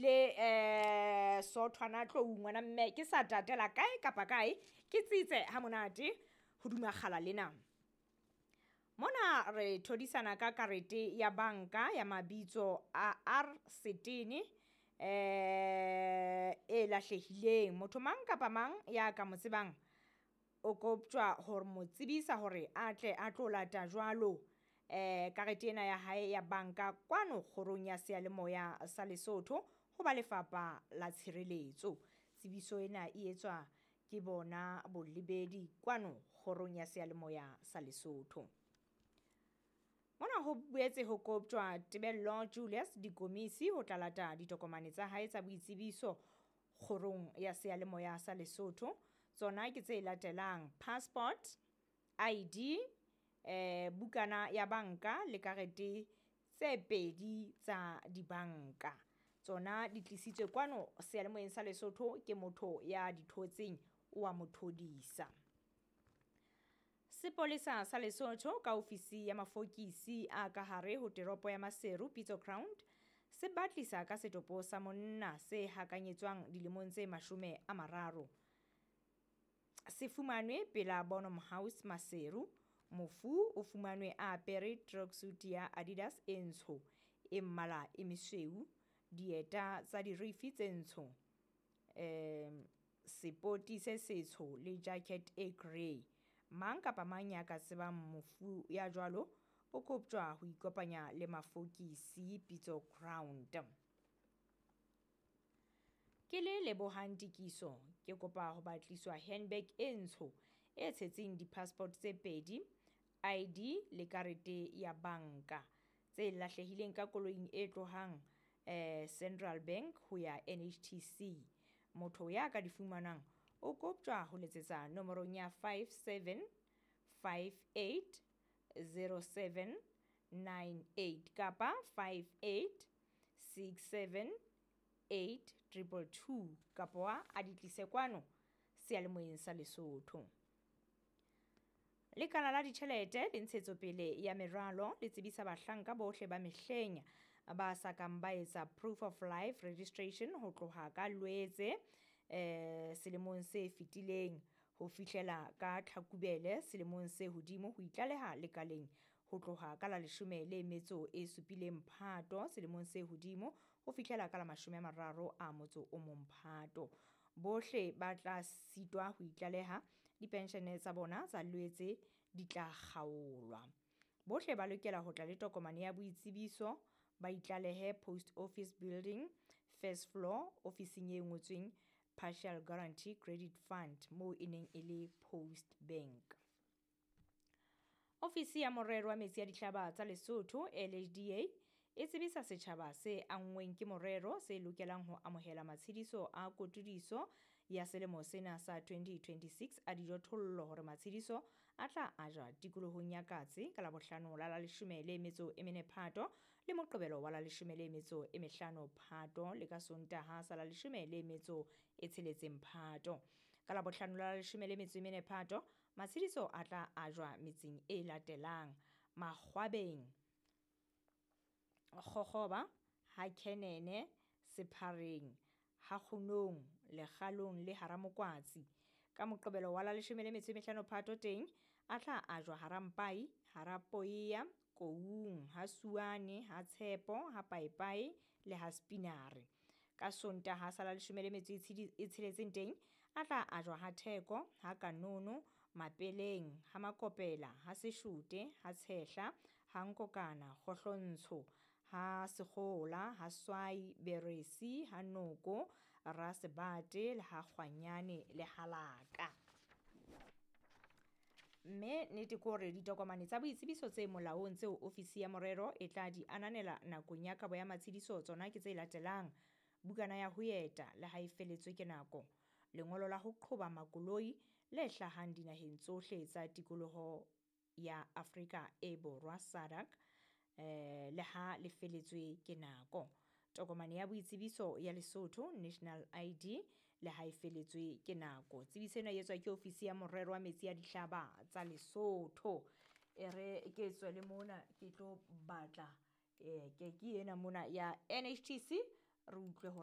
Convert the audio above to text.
Ebile sothwana tlou ngwana mme ke sa tatela kae kapa kae, ke tsitse ha monate hoduma kgala lena. Mona re thodisana ka karete ya banka ya mabitso a R Setene e lahlehileng. Motho mang kapa mang ya ka mo tsebang o koptjwa hore mo tsebisa hore a tle a tlo lata jwalo karete ena ya hae ya banka kwano kgorong ya seyalemoya sa Lesotho ho ba lefapha la tshireletso. Tsebiso ena e etswa ke bona bolebedi kwano kgorong ya seyalemoya sa Lesotho. Mona ho boetse ho koptjwa Tebello Julius Dikomisi ho tla lata ditokomane tsa hae tsa boitsebiso kgorong ya seyalemoya sa Lesotho. Tsona ke tse latelang: passport, ID, bukana ya banka le karete tse pedi tsa dibanka. Tsona di tlisitswe kwano seyalemoyeng sa Lesotho ke motho ya di thotseng, o a mo thodisa. Sepolesa sa Lesotho ka ofisi ya mafokisi a ka hare ho teropo ya Maseru Pitso Ground se batlisa ka setopo sa monna se hakanyetswang dilemong tse 30. Se fumanwe pela Bonham House Maseru. Mofu o fumanwe a apere tracksuit ya Adidas e ntsho e mmala e mesweu, dieta tsa dirifi tse ntsho, sepoti se setsho le jacket e grey. Mang kapa mang ya ka tsebang mofu ya jwalo o koptjwa ho ikopanya le mafokisi Pitso Ground. Ke le Lebohang Tikiso, ke kopa ho batliswa handbag e ntsho e tshetseng di-passport tse pedi, ID le karete ya banka tse lahlehileng ka koloing e tlohang Central Bank ho ya NHTC. Motho ya ka di fumanang o koptjwa ho letsetsa nomorong ya 57580798 kapa 58678222 kapa a di tlise kwano seyalemoyeng sa Lesotho. Lekala la ditjhelete le ntshetsopele ya meralo le tsebisa bahlanka bohle ba mehleng ba sa kang ba etsa proof of life registration ho tloha ka Loetse selemong se fetileng ho fihlela ka Tlhakubele selemong se hodimo ho itlaleha lekaleng ho tloha ka la 17 Phato selemong se hodimo ho fihlela ka la 31 Phato. Bohle ba tla sitwa ho itlaleha, dipenshene tsa bona tsa Loetse di tla kgaolwa. Bohle ba lokela ho tla le tokomane ya boitsebiso, ba itlalehe Post Office Building, first floor, ofising e ngotsweng Partial Guarantee Credit Fund moo e neng e le Post Bank. Ofisi ya morero wa metsi a dihlaba tsa Lesotho LHDA e tsebisa setjhaba se anngweng ke morero se lokelang ho amohela matshediso a kotudiso ya selemo sena sa 2026 a dijothollo hore matshediso a tla ajwa tikolohong ya Katse ka Labohlano la la 14 Phato le Moqebelo wa la 15 Phato le ka Sontaha sa la 16 Phato. Ka Labohlano la la 14 Phato matshediso a tla ajwa metseng e latelang: Makgwabeng, Kgokgoba, ha Kenene, Sephareng, ha Kgunong, Lekgalong le Haramokwatsi. Ka Moqebelo wa la 15 Phato teng a tla ajwa Harampai, Harapoea, Koung, ha Suane, ha Tshepo, ha Paepae le ha Spinare. Ka Sontaha sa la 16 teng a tla ajwa ha Theko, ha Kanono, Mapeleng, ha Makopela, ha Seshute, ha Tshehla, ha Nkokana, Kgohlontsho, ha Sekgola, ha Swai, Beresi, ha Noko, Rasebate le ha Kgwanyane le Halaka. Mme nnete ke hore ditokomane tsa boitsebiso tse molaong tseo ofisi ya morero e tla di ananela nakong ya kabo ya matshediso tsona ke tse latelang: bukana ya ho eta le ha e feletswe ke nako, lengolo la ho qhoba makoloi le hlahang dinaheng tsohle tsa tikoloho ya Afrika e Borwa SADC, le ha le feletswe ke nako, tokomane ya boitsebiso ya Lesotho National ID le ha e feletswe ke nako. Tsebiso ena e etswa ke ofisi ya morero wa metsi a dihlaba tsa Lesotho. E re ke tswele mona ke tlo batla ke ena mona ya NHTC re utlwe hore